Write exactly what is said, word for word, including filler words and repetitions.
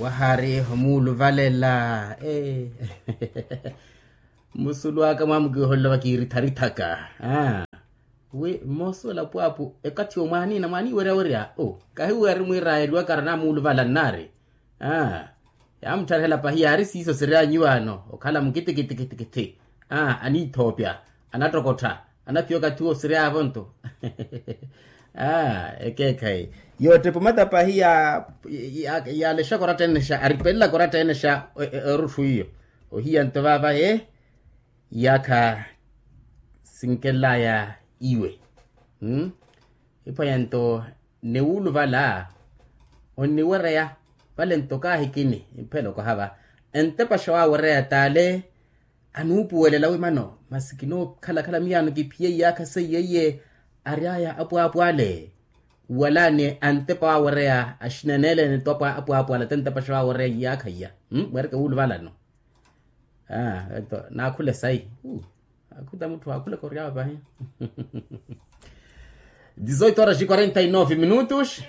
Wahari omuuluvalela. Musulu aka mwamukiholela vakiiritharithaka. Wi mmosuwela pwaapu ekathi omwaaniina mwaaniiwerya werya o kahiweri mwiirayeliwaka aranamuuluvala nnaari. Yaamuttharihela pahi yaari siiso siryanyu ano okhala mukitikitikitikithi. Aniithoopya, anattokottha, anaphiya okathi wo siryavo nto. Ekeekhayi yoottepa omata pahi yaalexaka oratta enexa aripelelaka oratta enexa. Erutthu iyo ohiya nto vaava ye iyaakha sinkelaya iwe. Iphwanya nto niwuluvala onniwereya vale nto kaahikini mphela okaha va entepaxa waawereya t'ale. Anuupuwelela wi mano masi kinookhalakhala miyaano kiphiye iyaakha seiye iye ary'aya apwaapw'ale. Wala ni antepa waawereya axinanelene to apwaapw'ale te ntepaxa waawereya iyaakha iya. Mwereke wuuluvalano. Naakhule sayi. Akhuta mutthu aakhulaka ory'awe pahi. Dezoito horas e quarenta e nove minutos.